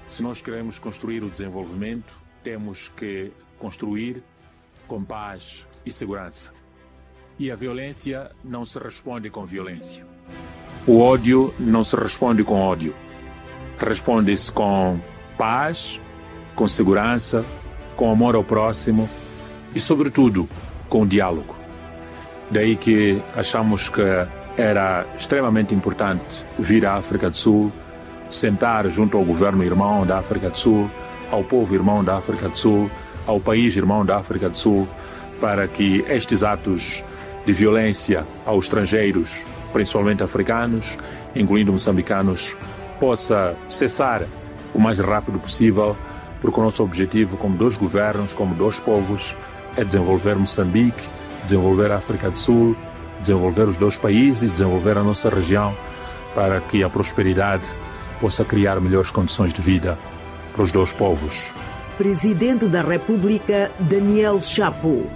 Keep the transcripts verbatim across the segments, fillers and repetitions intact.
Se nós queremos construir o desenvolvimento, temos que construir com paz e segurança. E a violência não se responde com violência. O ódio não se responde com ódio. Responde-se com paz, com segurança, com amor ao próximo e, sobretudo, com o diálogo. Daí que achamos que era extremamente importante vir à África do Sul, sentar junto ao governo irmão da África do Sul, ao povo irmão da África do Sul, ao país irmão da África do Sul, para que estes atos de violência aos estrangeiros, principalmente africanos, incluindo moçambicanos, possa cessar o mais rápido possível, porque o nosso objetivo, como dois governos, como dois povos, é desenvolver Moçambique, desenvolver a África do Sul, desenvolver os dois países, desenvolver a nossa região, para que a prosperidade possa criar melhores condições de vida para os dois povos. Presidente da República, Daniel Chapo.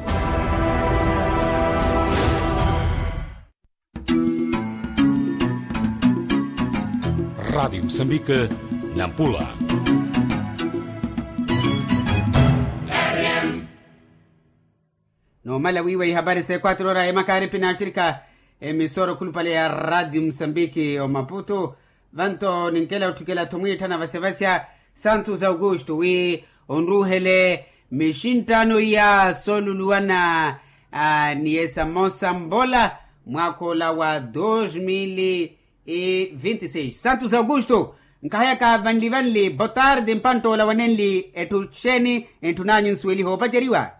Rádio Moçambique, Nampula. Numala wiiwa ihapari sa equatro ora emakaari pinaxirika emisora okhulupale ya rádio moçambique omaputu. Vanto ninkela otthukela-tho mwiitthana vasevasya santos augusto wi onruuhele mixinttano iya sooluluwana ni esa mosa mbola mwaakha ola wa dos mil e vinte e seis santos augusto. Nkahayaka vanli vanli botarde mpanttoola wanenli etthu xeeni? Etthu naanyu nsuweliha opaceriwa.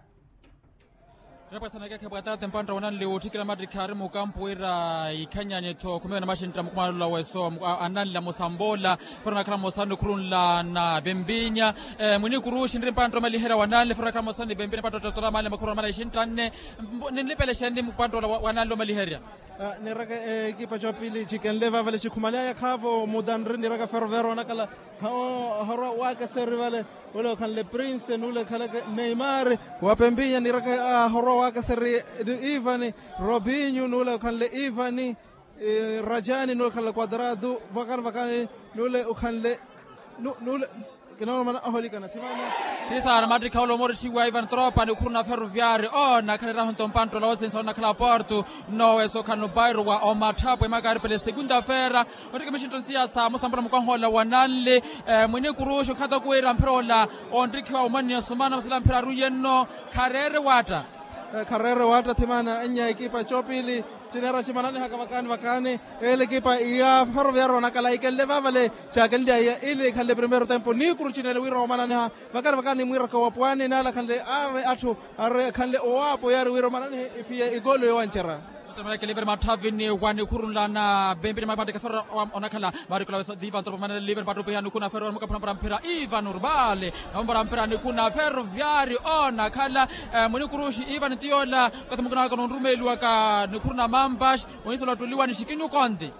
Repasanakekhe botarde mpanttoola wanenli otthikela mattikhi ari mukampu wira ikhanyanye-tho khumewa na maxintta mukumalola weso ananla mosa mbola. Fora nakhala mosa nikhurunla na pempinya mwinikuruxi nri mpanttoola omaliherya wananli fora nakhala mosa ni pempinya mpanttoola ottatola manle makhurunla mana ixintta nne. Ninlipele xeeni mpanttoola wananli omaliherya? Niraka ekipa coopili cikenle vavale cikhumalyaya khaavo mutanri niraka ferroviario onakhala. Ohorwa waakeseri vale ule okhanle prince nule khaleke neymar wa pempinya niraka ahorwa waakeseri ivani robinho nule okhanle ivani rajani nule okhanle quadrado vakani vakani nule okhanle nule. Kinooromana oholikana thimana. Sisaana mattikha ole omorixiwa ivan tropa nikhuru na ferroviario oona khalirahu nto mpanttoola wosinsa onakhala porto. Nnoowesa okhana opairo wa omatthapo emakaari pele segunda feira. Onrikha mixintto nsiya sa mosa mbola mukwaha ola wananli mwinikuruxi okhata kuwira mphira ola onrikhiwa omaniya sumana masila mphira aruiye nno. Khareere waatta. Khareere waatta thimana enya ekipa coopili. Cineera cimananihaka vakaani vakaani ele ekipa ya ferroviario onakhala ikenle vaavale. Caakenlyaya ili ikhanle primeiro tempo nikuru cineene wira omananiha. Vakaani vakaani mwiiraka wa pwaani naala khanle aari atthu ari khanle owaapo yaari wira omananihe iphiye ikolo yowancerya. Otemelekele iveri matthavini wa nikhurunla na pempini mamateke ferro onakhala. Marikola wesa diva ntropa manele liveri pattupiha nikhuna ferro mukaphurampura mphira ivan urbale. Namumbora mphira nikhuna ferroviario onakhala mwinikuruxi ivan tiyola. Kathi mukinaka nonrumeeliwaka nikhuru na mampaxi. Ohinsela ottuliwa ni xikinyu konti.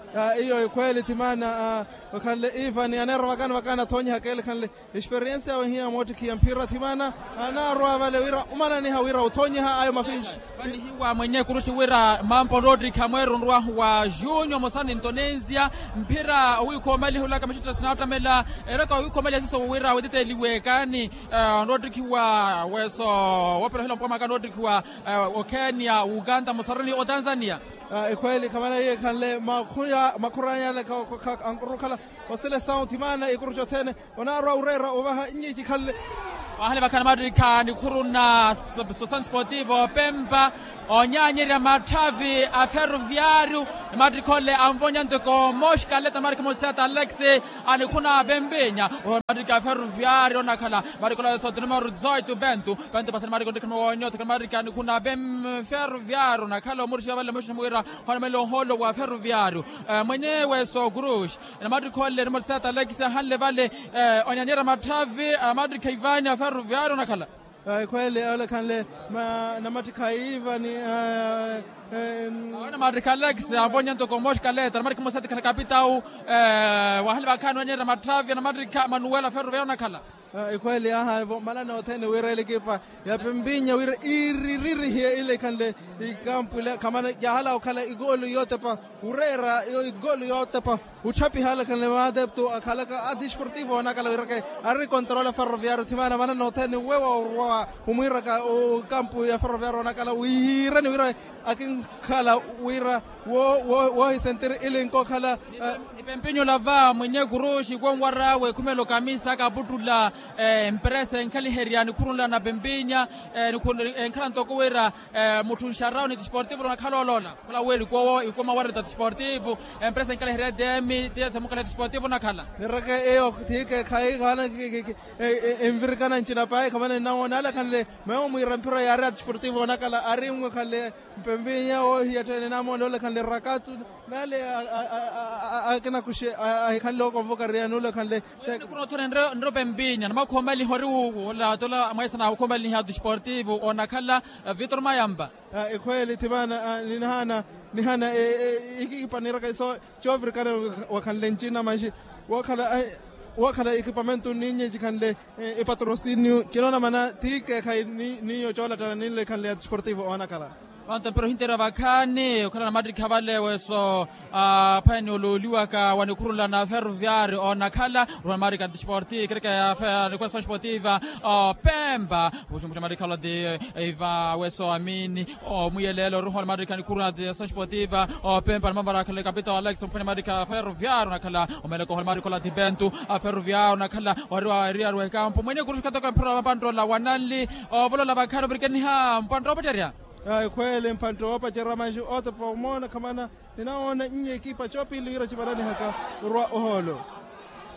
Iyo ekhweeli thimana. Okhanle ivan aneera vakaani vakaani athonyihaka ele khanle. Experiensia wehiya moottikhiya mphira thimana anaarwa vale wira omananiha wira othonyiha ayo mafinxi. Vanihiwa mwenye kuruxi wira mampa onroottikha mweerunrwahu wa junio mosani ntonensia. Mphira owiikha omaliha olaka maxittas naattamela eraka owiikha omaliha siso wira wetiteliwe kaani. Onroottikhiwa weso woopela ohila mpwamaka onroottikhiwa okhenia uganda mosarani otanzania. Ekhweeli khamana iye khanle makhuranya aleka ankurukhala. Oselesawu thimana ikuruxa othene onaarwa oreera ovaha nnyi cikhanle. Vahale vakhala mattikha nikhuru na sosan sportivo pempa. Onyaanyerya matthavi a ferroviario ni mattikha ole anvonya ntoko moxkaleta ni mattikha mosiyata alex. Anikhuna pempinya oho mattikha a ferroviario onakhala mattikha ole sotinuma ruzoito pento. Pento pasani mattikha ontikha mowoonyo otikha mattikha anikhuna pempinya ferroviario onakhala omurixiwa vale moxuxa muwira. Hwana mele ohoolo wa ferroviario mwenyewe sokuruxi. Namattikha ole nimotisata alekisi ahanle vale. Onyanyerya matthavi namattikha ivani aferroviario onakhala. Ekhwele ole khanle namattikha ivani. Namattikha alekisi anvonya ntoko moxkaleta namattikha mosati khala kapitau. Wahale vakhani onyanyerya matthavi namattikha manuwela aferroviario onakhala. Ekhwele aha vo malani othene wira elekipa ya pempinya wira iriririhiye ile ikhanle ikampu ile khamana yahala okhala igolu yotepa. Wureera igolu yotepa. Otthapiha alakhanle maadepto akhalaka a desportivo onakala wiraka ari control a ferroviario thimana manana othene wewa orwa omwiraka okampu ya ferroviario onakala wiireni wira akinkhala wira woohisentiri ili nkokhala. Nipempinyo lava mwenye kuruxi konwar'awe khumelo kamisa kaputtula empresa enkhaliherya nikhurunla na pempinya enkhala ntoko wira mutthu nxarawo ni desportivo nakhala oloola. Khula weri kowo ikoma wareta desportivo empresa enkaliherya tm tiyethemukhale desportivo nakhala. Nireke eyo thike khayi khaana envirikana ncina payi khamana ninawoona alakhanle mewo mwiira mphira yaari a desportivo onakhala ari mmwekhanle mpempinya woohiya tthene namoone olakhanle rakatu nale akinakuxe ahikhanle okonvoka riya nulakhanle. Khuna othone nrope mpinya namakhuwa omaliha ori wuuwo ola tola mweesa namakhuwa omaliha a desportivo onakhala vitor mayampa. Ekhweeli thimana nihana nihana ikikipaniraka iso coovirikana wakhanle ncina manxi wookhala ekipamento ninnye cikhanle epatrosinio kinoona mana ti keekhayi niyo coolattana ninle ikhanle ya desportivo oonakhala. Vanto mpira ohinterya vakhaani okhala namattikha vale weso aphwene olooliwaka wa nikhurula na ferroviario oonakhala oruha namattikha desportivo kereke ya nikhurula desportivo opempa muxumuxa namattikha olati iva weso amini omuyeleela oruha namattikha nikhurula desportivo opempa nimamvarakhala kapita wa alex omphwene namattikha ferroviario oonakhala omeleko oha namattikha olati bentu a ferroviario oonakhala wariwa eriaru ekampu mwene kuruxu khatoko mphira wa mapanttoola wananli ovolola vakhaani ovirikeniha mpantta opacharya. Ekhweele mpantte woopacerya manxi otepa omoona khamana ninawoona nnye ekipa coopili wira civananihaka orwa ohoolo.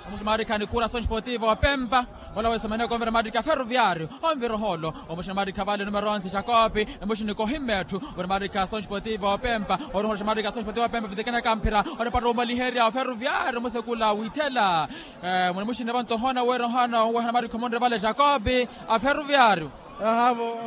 Omuxi maarikha nikhuura asoxi potivo opempa ola weesomeneya konvira maarikha ferroviario onvira ohoolo. Omuxi maarikha vale numero onze jacope emuxi nikohimme etthu wira maarikha asoxi potivo opempa oruhoxa maarikha asoxi potivo opempa vitekenaka mphira onipatta omaliherya oferroviario omusekula withela. Muni muxinne vanto ohoona wira ohoona oweha namarikha omonre vale jacope a ferroviario. Ahavo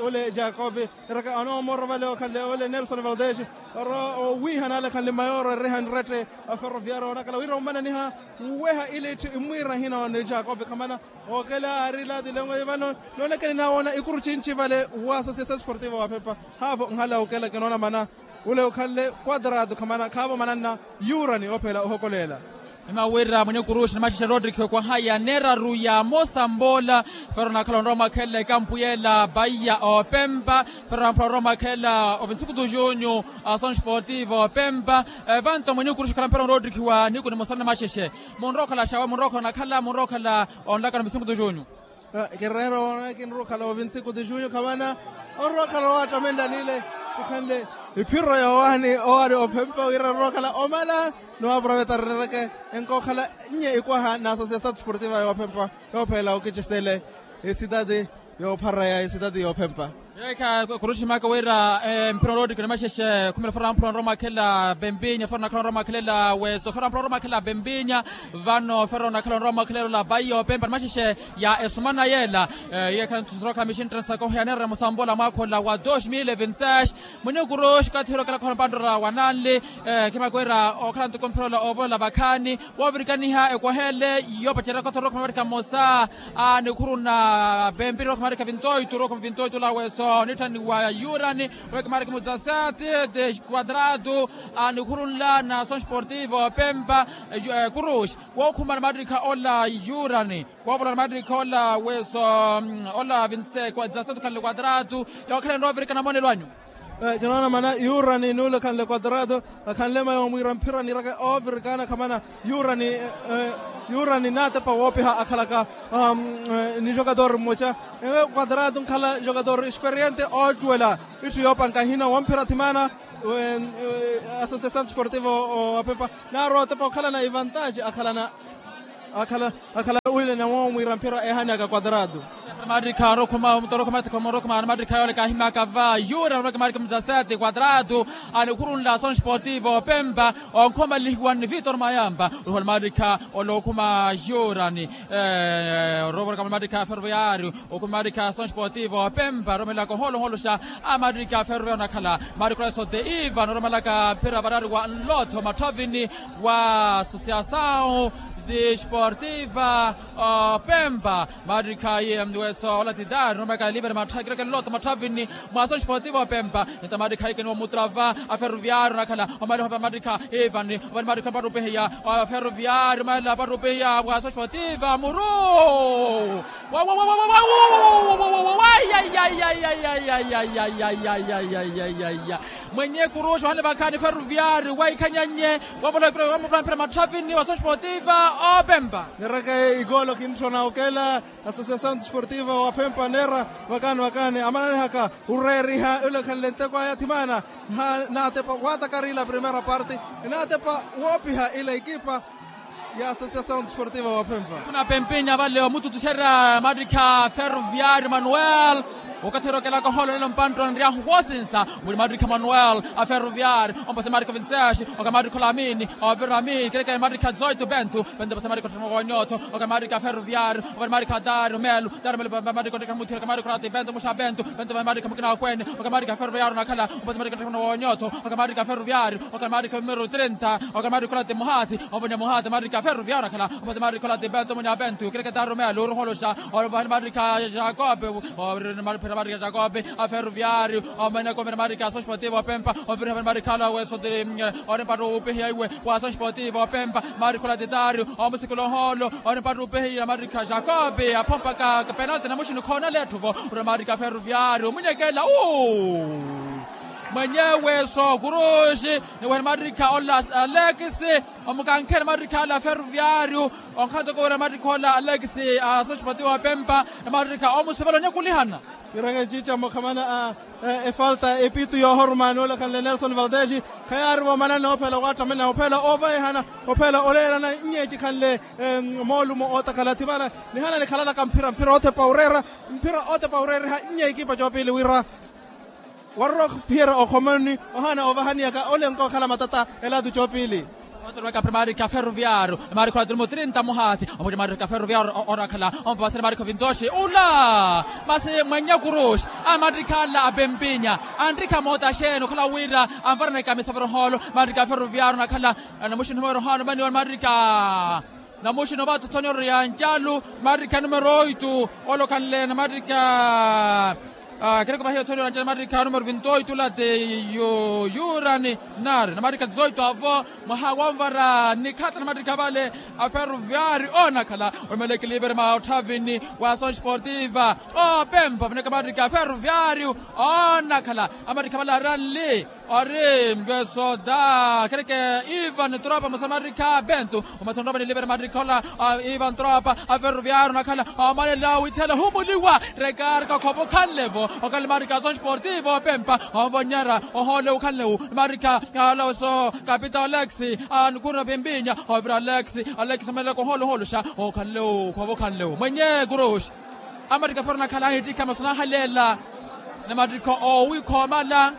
ole jacobe eraka anoomorwa vale okhanle ole nelson valdez oro owiihana ale khanle mayoro eriha nrette a ferroviario onakhala wira omananiha wuweha ili itthu imwiira hino ni jacobe khamana okela aari lati lengo ivano noonekeni nawoona ikuru cinci vale wa association sportivo wa phepha. Haavo nhala okela kinoona mana ule okhanle quadrado khamana khaavo mananna yurani ophela ohokolela. Emaweera mwene kuruxi ni maxexe rodrigo ekwaha ya neeraru ya mosambola. Fero nakhala onrowa mwakhelela ekampu yeela baiya opempa fero namphula onrowa mwakhelela ovinsuku tu junyu. Asoxi potivo opempa evanto mwene kuruxi khala mphera onrowa ottikhiwa niku ni mosana ni maxexe munrowa okhala xawe munrowa okhala onakhala munrowa okhala onlaka ni ovinsuku tu junyu. Kireera owoona kinrowa okhala ovinsiku tu junyu khamana onrowa okhala owaattamenlanile ikhanle iphiro yoowaani owaari ophempa wira onrowa okhala omala ni waaprovetarereke enkookhala nnye ikwaha na association sportiva yoophempa yoophela okicisele esitati yoopharaya esitati yoophempa. Yeekha kuruximaka wira mphira oloottikina maxexe khumela fero namphula onrowa mwakhelela pempinya fero nakhala onrowa mwakhelela weso fero namphula onrowa mwakhelela pempinya vano fero nakhala onrowa mwakhelela olapaiya opempa ni maxexe ya esumana yeela. Yeekha ntusoroka mixinttensaka oheyanera musambola mwaakhola wa dos mil vinseis mwene kuruxi okathi olokelaka ohala mpanttoro wananli. Khimaka wira okhala ntoko mphira ola ovolola vakhaani woovirikaniha ekwaheele yoopacerya okathi orookhuma maarikha mmosa a nikhuru na pempiri orookhuma maarikha vintoitu orookhuma vintoitu olaweso nitthani wa yurani orookhuma maarikha mudzasati de quadrado a nikhuru nla na asoxi sportivo pempa kuruxi wookhuma na maarikha ola yurani woovola na maarikha ola weso ola vinse dzasati okhanle quadrado yookhala enrowa ovirikana moonelo anyu. Kinoona mana yurani nuule khanle quadrado akhanle mayo omwiira mphira niiraka oovirikana khamana yurani yurani naatepa woopiha akhalaka ni jogador mmoca ewe quadrado nkhala jogador experiente oocuwela itthu yoopanka hino womphira thimana association sportivo wa pempa naarwa otepa okhalana ivantaji akhalana akhala akhala wile nawo mwiira mphira ehaniyaka quadrado. Maarikha orokhuma mutorokho matikho morokhuma maarikha yoole kaahimyaka va yura oroke maarikha mudzasete quadrado anikhurunla asoxi sportivo opempa onkhomalihiwa ni vitor mayampa oruhola maarikha olookhuma yurani orovoraka maarikha ferroviario okhuma maarikha asoxi sportivo opempa oromelaka oholoholoxa a maarikha ferroviario onakhala maarikha olaso de iva noromelaka mphira varaari wa nlotho matthavini wa associação Desportiva opempa. Maattikha ayi weso olatitari numekala liveri matthakireke nlota matthavini mwa asoxportiva opempa. Nita maattikha ayi keniwa mutrava aferroviario nakhala omaliho pa maattikha ivani. Ovani maattikha mpattupihiya aferroviario maela mpattupihiya mwa asoxportiva muru. Mwenye kuruxi ohale vakhaani ferroviario waikhanyan'ye wavolowa ekiro wamutwamphira matthavini wa soxportiva opempa. Nireke ikoolo kintthona okela asosiasaw desportiva wa pempa neera vakaani vakaani amananihaka oreeriha olekhanle nteko aya thimaana. Naatepa waataka ila primeira parte naatepa woopiha ila ekipa ya asosiasaw desportiva wa pempa. Kuna pempinya vale omututuxerya maattikha ferroviario manuel. Okathi erokelaka ohoolo nelo mpanttoni nryahu woosinsa muli maattikha manuel aferroviario ompase maattikha vinseshi. Oka maattikha olamini ovira amini kereke maattikha zoito bento bento pase maattikha otthema wonyotho. Oka maattikha ferroviario ovira maattikha dario melo dario melo maattikha otthema muthira oka maattikha olati bento muxa bento bento maattikha mukina okwene. Oka maattikha ferroviario nakhala ompase maattikha otthema wonyotho. Oka maattikha ferroviario oka maattikha numero trenta. Oka maattikha olati muhathi ovonya muhathi maattikha ferroviario nakhala ompase maattikha olati bento munya bento kereke dario melo oruholoxa. Ovani maattikha jacob ovira maattikha jacob aferroviario. Omene komene maattikha asoxportiva opempa ovira maattikha ala wesotiri ori mpattupihiya iwe wa asoxportiva opempa. Maattikha olati dario omusikula ohoolo ori mpattupihiya maattikha jacob aphompaka penalti namuxini khoona letthuvo. Ura maattikha ferroviario omunyekela u mwenyewe sokuruxi. Niwene maattikha ola alekisi omukankhela maattikha ala ferroviario. Onkhatoko wira maattikha ola alekisi asoxportiva opempa na maattikha omusivela onyakulihana. Ireke eciica mukhamana a efalta epitu yoohoruma noolakhanle nelson valdesi khayaari voomanani ophela owaattamana ophela oovayihana ophela oleelana nnye ecikhanle moolumo ootakhala thimana. Nihana nikhalalaka mphira mphira oothepa oreera mphira oothepa oreeriha nnye ekipa coopili wira warorooka ophiyerya okhomoni ohaana ovahaniyaka ole nkookhala matata elaatu coopili. Otorowaka primarika ferroviario. Mariko la tulumo trinta muhathi omuti mariko ferroviario orakhala ompapasani mariko vintoxi ula. Masi mwenye kuruxi amarikhala apempinya anrikha moota xeeni okhala wira anvaraneka misavero hoolo. Mariko ferroviario nakhala namuxi numero hoolo mani marika. Namuxina ovaatha othonyoro ya ncalu marikha numero oitu. Olokhanle na marikha kereko vahiya othonyoro ya ncalu marikha numero vinto oitu late yurani nari na marikha dizoitu avo mwaha wonvara nikhatta na marikha vale. Aferroviari onakhala omelekiliveri mwa otthavini wa asoxportiva opempa vineka marikha aferroviari onakhala amarikha vale aranli. Ori mpesoda kereke ivan tropa musamarikha bentu omasontova nilivere marikha ola. Ivan tropa aferroviario nakhala omalela withela humuliwa rekarka khova okhanlevo okhala marikha asoxportivo opempa. Ovonyera ohoole ukhanlewu marikha aloso kapita olex. Anukhurina pimpinya ovira olex. Olex omalela kohoole ohooluxa okhanlewu khova okhanlewu mwenye kuruxi. Amarikha ferro nakhala ahittikha masu nahaleela na marikha owi khoomala.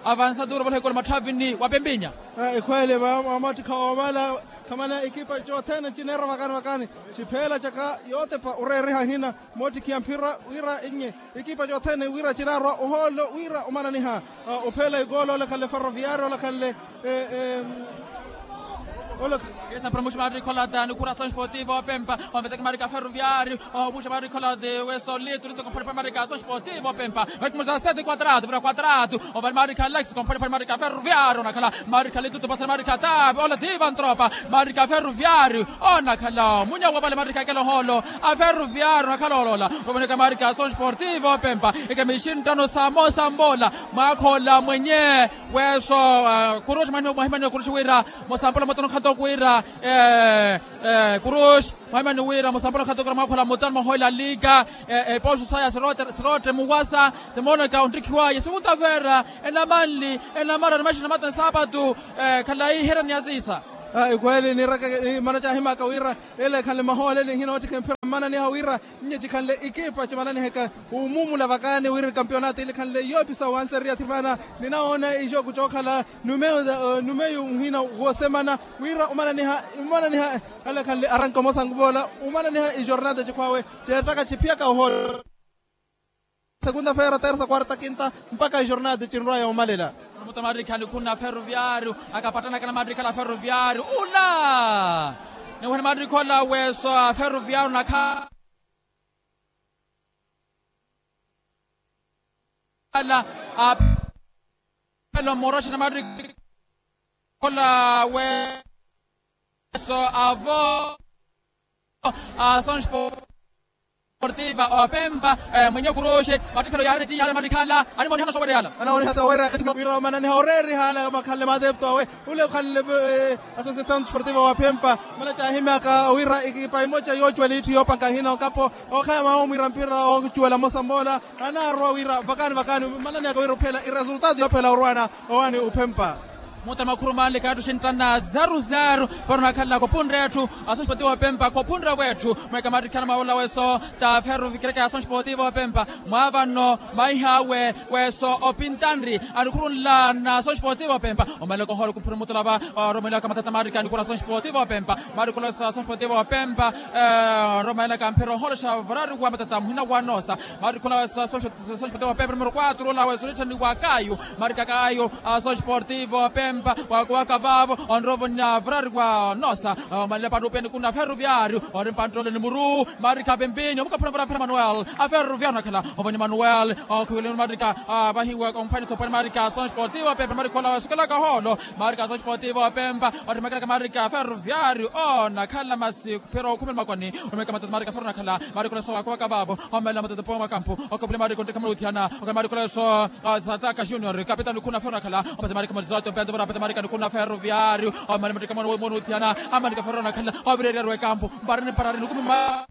Avansa tuuro vale hikola matthavini wa pempinya. Ekhweele mamattikha oomala khamana ekipa cothene cineera vakani vakani. Cipheela caka yootepa oreeriha hina moottikhiya mphira wira ennye ekipa cothene wira cinaarwa ohoolo wira omananiha. Opheela ikoolo olekhanle ferroviario olekhanle. Esa promoxi marikha olata ni coração esportivo opempa. Onveteke marikha ferroviario omuxa marikha olata wesolitu nitoko mphone pa marikha asoxportivo opempa. Marikha muza sete quadrado vira quadrado. Ovani marikha alex komphone phone marikha ferroviario onakhala marikha litutu pasani marikha tavi ola divan tropa. Marikha ferroviario onakhala munya wavale marikha ekela ohoolo. Aferroviario onakhala olola ovoneka marikha asoxportivo opempa. Eke mixinttano samosa mbola mwakhola mwenye. Weso kuruxi mwahimaniwa kuruxi wira musambola mutano khatoko wira kuruxi mwahimani wira musambola khatoko wira mwakhola mutano mwahoyela liga. Epoxu saya sirotre muwasa. Timooneka onttikhiwaye segunda-feira enamanli enamara nimaxina mata nsapatu. Khalayi iherani ya siisa. Ekhweeli nireke imana caahimaka wira ele ekhanle mahooleli nhinoottikha emphira mmananiha wira nnye cikhanle ekipa cimananiheke. Wumumula vakaani wira ekampionato ilikhanle yoopisa wanseriya thipana ninawoona ixooku cookhala numeyu numeyu nhina woosemana wira omananiha omananiha. Alekhanle aranka omosanku voola omananiha ijornada cikhwawe ceettaka ciphiyaka ohoolo. Segunda-feira tersa quarta quinta mpaka ijornada cinrwaya omalela. Muta marikha nikhuna ferroviario akapattanaka na marikha la ferroviario ula. Niwene maattikhi ola weso a ferroviario nakhala apelo moroxi na maattikhi ola weso avo a asonciativa opempa mwenye kuruxi mattikhelo yaari ti yaari mattikhala animoniha nosowereyala. Anaoniha sawereyala wira omananiha oreerihala makhanle maatepto awe ule okhanle asosiasaw sportivo wa phempa mala caahimyaka wira ekipa emoca yoocuwela iitti yoopanka hina okapo okhala maawumwira mpira oocuwela mosa moola. Anaarwa wira vakani vakani malaniyaka wira ophela iresultado yoophela orwana owaani ophempa. Muta makhuru manle kaattu xinttana zaru zaru faro nakhala kophunre etthu. Asonciativa opempa kophunre wetthu mweka mattikhana mawola weso ta ferro vikereka ya asonciativa opempa mwaavano maiha awe weso opintanri anikhurunla na asonciativa opempa. Omalelaka oholo kuphura mutulava oromelaka matata maarika anikhura asonciativa opempa maarikula weso asonciativa opempa. Oromelaka mphira oholoxa vorari wa matata muhina wa noosa maarikula weso asonciativa opempa numero quatro ola weso nitthani wa kayu maarika kayu asonciativa opempa wakuwaka vaavo onrovo na vorari wa noosa. Omalele pantu upeni kuna ferroviario ori mpanttole ni muru maarika pempinyo mukaphura mphira manuel a ferroviario nakhala. Ovoni manuel okhiweleni marika vahiwa omphwani thopwani marika asonciativa opempa marika ola wesukelaka holo marika asonciativa opempa otthimakelaka marika ferroviario onakhala masi phira okhumela makoni. Otthimakelaka matata marika ferro nakhala marika ola weso wakuwaka vaavo omelela matata powa mwakampu okapule marika onttekha muluthiyana okhala marika ola weso sataka junior kapitani khuna ferro nakhala. Omasi marika muluthiyana ompento vora apete marika nikhuna ferroviario omelela mattika mwana womunuthiyana amarika ferro nakhala ovireriaru ekampu mparani mparari nikumi ma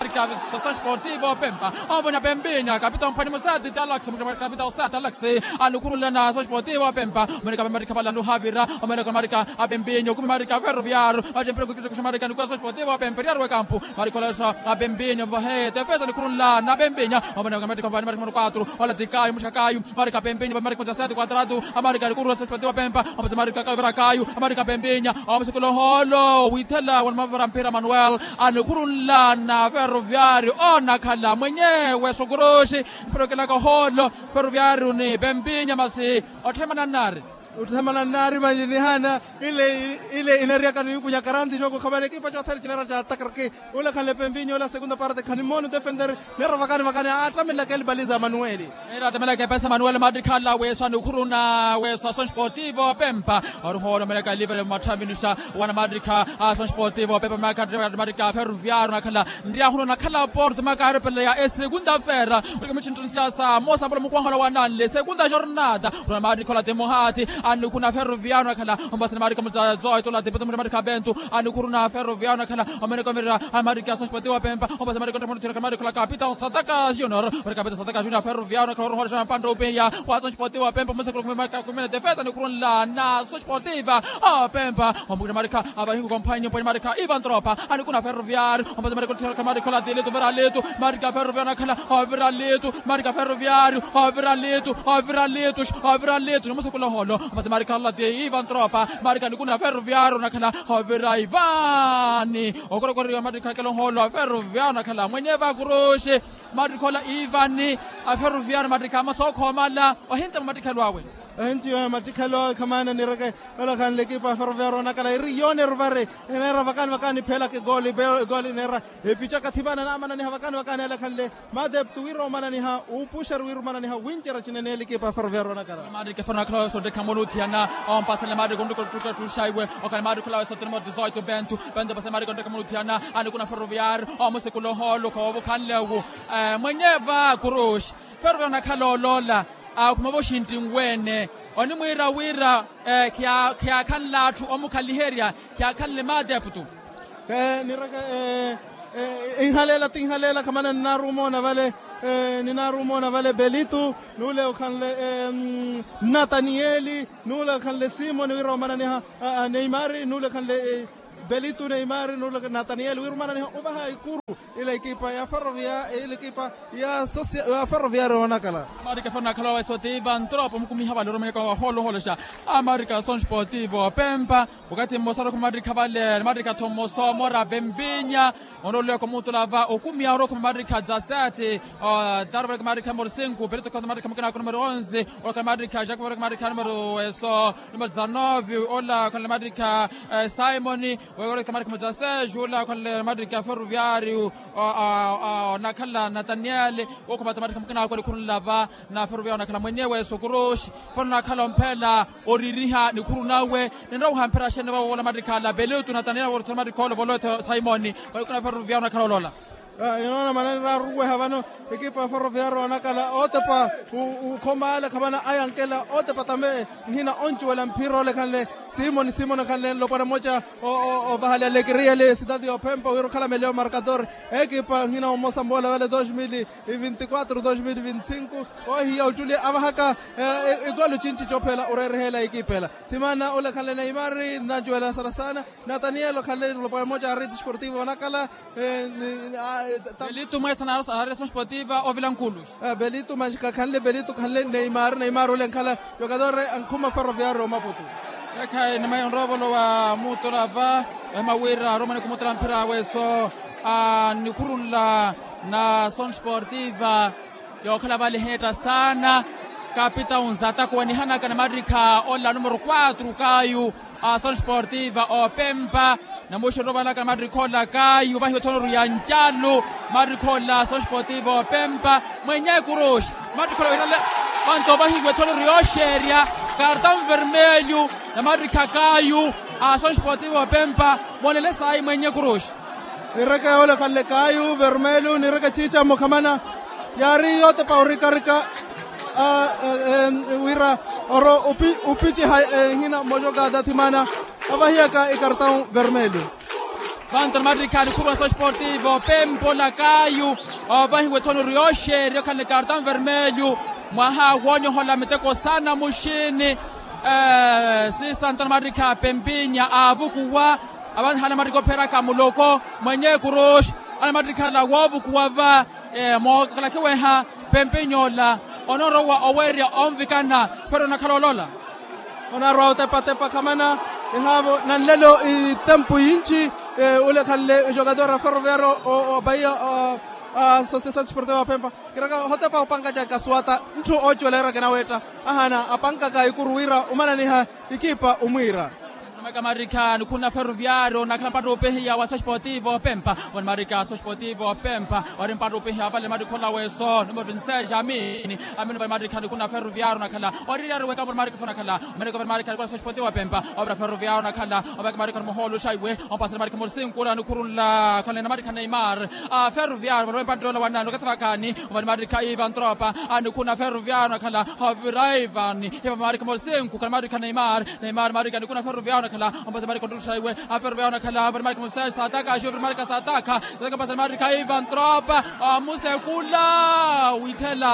marika asonciativa opempa. Ovoni apempinya kapita omphwani musati talaxi kapita osati talaxi anikhurunle na asonciativa opempa omeneka marika valanu havira omeneka marika apempinya okumi marika ferroviario vattempira kukitekuxa marika nikwa asonciativa opempa eriaru ekampu marika ola weso apempinya vahe tefesa nikhurunla na apempinya omeneka marika vani marika mano quatro ola tikayo muxakayo marika apempinya vamarika musasati quadratu amarika nikhurunla asonciativa opempa. Omasi marika kayo vira kayo amarika apempinya omusikula oholo withela wanamavara mphira manuel anikhurunla na ferroviario onakhala mwenyewe sokuruxi mpira okelaka oholo ferroviario ni pempinya masi otthemana nnaari. Otthemana nnaari manji nihana ile ile inariyaka niwikunya karanti xoko khamana ekipa cothene cinera ca takarki ule khanle pempinya ule a segunda parte khanimoona otefender nera vakani vakani attamelaka elipaliza manueli. Nira attamelaka epesa manuel mattikhala weso anikhuruna weso asonciativa opempa ori hoolomelaka livre matthaminisha wana mattikha asonciativa opempa makaattimatikha ferroviario nakhala nriyahuna onakhala porto makaarepeleya esegunda fera. Olikamicinttuni siyasa mosa mpolo mukwahola wananle segunda jornada ula mattikha ola temohati anikhuna ferroviario nakhala ompasani mattikha mutsazoito ola tepeto mutamatikha bentu anikhuruna ferroviario nakhala omeneka omirira amariki asonciativa opempa ompasani mattikha onttamatikha mattikha ola kapita sataka junior ori kapita sataka junior ferroviario nakhala orohola xana mpantta opiya wa asonciativa opempa omusekula kumene defesa anikhurunla na asonciativa opempa ompukina marika avahiku komphwanyi ompwani marika ivan tropa anikuna ferroviario ompasa marika otthirakha marika ola tilitu vira litu marika ferroviario nakhala ovira litu marika ferroviario ovira litu ovira litu ovira litu nomusakula oholo ompasa marika ola ti ivan tropa marika anikuna ferroviario nakhala ovira ivani okorokoriwa marika kela oholo ferroviario nakhala mwenye vakuruxi marika ola ivani aferroviario marika amasookho omala ohinta mwa matikhelo awe. Ehintiyo ya mattikhelo awe khamaana nireke olakhanle ekipa ya ferroviario onakhala eri yooneru vari eneera vakani vakani ephelaka egooli egooli eneera epica kathimana namananiha vakani vakani alakhanle mateptu wira omananiha uupuxeru wira omananiha wincerya cineneela ekipa ya ferroviario onakhala. Maarikefero onakhala weso ontekha muluthiyana ompasale maariko ontukatukatthuxa iwe okhala maarikhola weso tene mwa dezoito bentu bentu ompasale maariko ontekha muluthiyana anikuna ferroviario omusikula ohoolo khovukhanle wu mwenye va kuruxi ferroviario onakhala oloola akhuma voxintti nweene onimwiira wira khiyaakhanle atthu omukhaliherya khiyaakhanle maateptu. Nireke inhaleela tinhaleela khamana ninaaruuma oona vale ninaaruuma oona vale belitu nuule okhanle nataniyeli nuule okhanle simoni wira omananiha neimari nuule okhanle belitu neimari nuule nataniyeli wira omananiha ovaha ikuru Ila ekipa ya ferroviario ila ekipa ya ferroviario onakala. Amarika fernakhala weso tiva ntropa omukumiha vale oromweka waholoholoxa. Amarika son sportivo pempa. Okathi mmosa arokhuma marikha vale marikha thomoso mora pempinya. Onroolweka omutula va okumiha arokhuma marikha dza sete. Tarvaleka marikha morosinku pelito khata marikha mukina ako numero onze. Ola khale marikha jakuva ola khale marikha numero weso numero dza nove. Ola khale marikha simoni. Wekoreka marikha mudza sejo ola khale marikha ferroviario. Onakhala nataniele. Wokhumata marikha mukina ako nikhurunla va na ferroviario onakhala mwenyewe sokuroxi. Fano onakhala omphela oririha nikhuru nawe. Ninrowa ohamphera xene vawola marikha ala pelitu nataniele worothela marikha olovola othe simoni. Valikuna ferroviario onakhala olola. Inoona manani raaruweha vano. Ekipa ya ferroviario onakhala otepa ukhoma ale khamana ayankela otepa tambe. Nhina oncuwela mphira olekhanle simoni simoni akhanle nlopwana mmoca. Ovahale alekeria le sitati yophempa wira okhala melewo markador. Ekipa nhina omosa mbola vale dos mil vinti quatro dos mil vinti cinco. Ohiya oculi avahaka ikolo cinci cophela oreerehela ekipa ela. Thimana olekhanle neimari nancuwela sana sana. Nataniel okhanle nlopwana mmoca a rede sportivo onakhala. Belito mwesa na reson sportiva ovila nkulu. Belito maxi kakhanle belito khanle neimar neimar ole nkhala. Jokadore ankhuma ferroviario omaputu. Ekhayi nimaya onroovolo wa mutola va. Ohema wira aromwene khumutela mphira weso a nikhurunla na son sportiva. Yookhala vale eheetta saana. Kapitawu nzataka wanihanaka na marikha ola numero quatro kayu. Ason sportiva opempa. Namuxi orovalaka na marikha ola kayu vahiwe ethonoru ya ncalu. Marikha ola ason sportiva opempa. Mwenye kuruxi. Marikha ola wihale vanto vahiwe ethonoru yooxerya. Kartão vermelho. Na marikha kayu. Ason sportiva opempa. Moonele sayi mwenye kuruxi. Nireke olekhanle kayu vermelho nireke ciicamo khamana. Yaari yootepa orikarika wira oro opiciha ehina mojokada thimana. Avahiyaka ikartão vermelho. Vanto na marikha nikhuru wa sosportivo pempo lakayu. Ovahiwa ethono ori yooxeerya okhala ni kartão vermelho. Mwaha woonyohola miteko saana muxini. Sisanto na marikha pempinya aavukuwa. Avanhala marikha opheraka muloko mwenye kuruxi. Ana marikha ala woovukuwa va. Mookalakhiweha pempinyola. Onarowa oweerya onvikana. Fero onakhala olola. Onarwa otepatepa khamana. Ehaavo nanlelo itempu yinci. Ulekhanle jogador a ferroviario. Opaiya a sociedade sportiva wa pempa. Kiraka ohotepa opankaca kasuwata. Ntthu oocuwela ira kinaweetta. Ahana apankaka ikuru wira omananiha. Ikipa omwiira. Marikha nikhuna ferroviario nakhala mpatto opehiya wa sosportivo pempa. Ori marikha sosportivo pempa. Ori mpatto opehiya vale marikha ola weso numero dix-seis amini. Amini vale marikha nikhuna ferroviario nakhala. Ori riari weka vale marikha fo nakhala. Marikha vale marikha nikhuna sosportivo pempa. Ovira ferroviario nakhala. Oveka marikha ni muhoolo xaiwe. Ompasela marikha mori sinkuura nikhurunla khalena marikha neimar. Ferroviario vale mpatto ola wanani okathi vakhaani. Vale marikha ivan tropa. Nikhuna ferroviario nakhala. Ovira ivan. Ivan marikha mori sinkuura marikha neimar. Neimar marikha nikhuna ferroviario nakhala. Ompasela marikha ontuxaiwe. Aferroviario nakhala vale marikha mori sinkuura sataka axi ovira marikha sataka. Sataka ompasela marikha ivan tropa. Amusekula withela.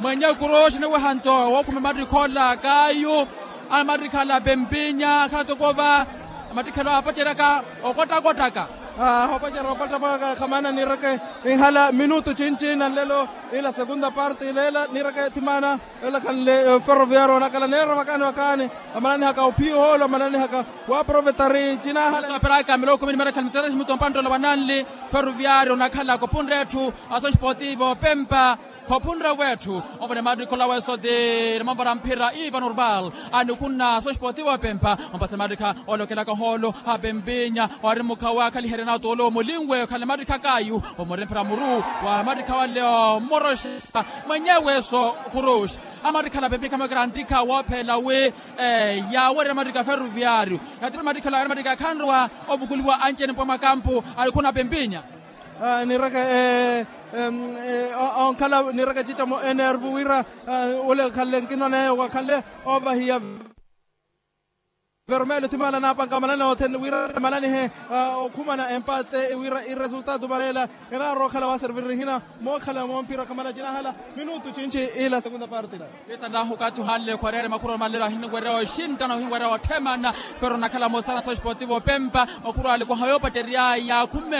Mwenye kuroxi niweha nto wookhuma marikha ola kayu. Ana marikha ala pempinya akhala toko va. Matikhelwa apaceryaka okottakottaka. Apaceryaka okottakottaka khamana nireke. Inhala minutu cinci nanlelo ila segunda parte ilela nireke thimana. Ela khanle ferroviario onakhala neera vakaani vakaani. Amananihaka ophiya ohoolo amananihaka. Waaprovetari cinahala. Aperaka miloko mini marakhala mitereximuto mpanttola wananli. Ferroviario onakhala kopunre etthu. Asosportivo pempa. Khophunre wetthu. Ovone marikha ola weso ti rimanvara mphira ivan urbal. Anikhuna sosportivo pempa. Ompasela marikha olokelaka ohoolo. Apempinya. Ori mukhawa akhaliherya na otoolo omulinwe okhale marikha kayu. Omori mphira muru wa marikha wale omoroxa. Mwenye weso kuruxi. Amarikha ala pempinya khamwekera ntikha woophela wi. Yaawerya marikha ferroviario. Yatira marikha ala marikha khanrowa. Ovukuliwa ancene mpwa mwakampu. Anikhuna pempinya. Nireke onkhala nireke cica mo enervu wira. Ole khanle nkino neye wakhanle ovahiya. Vermelho thimana napanka manani othene wira mananihe. Okhumana empate wira iresultado manela. Enarokhala waservir nihina mookhala mompira khamana cinahala. Minutu cinci ila segunda parte. Esa nahu okathi ohanle khwarere makhuru amalelo ahiniwerya oxinttana ohinwerya otthemana. Fero onakhala mosana sosportivo pempa. Makhuru ale koha yoopacerya yaakhume.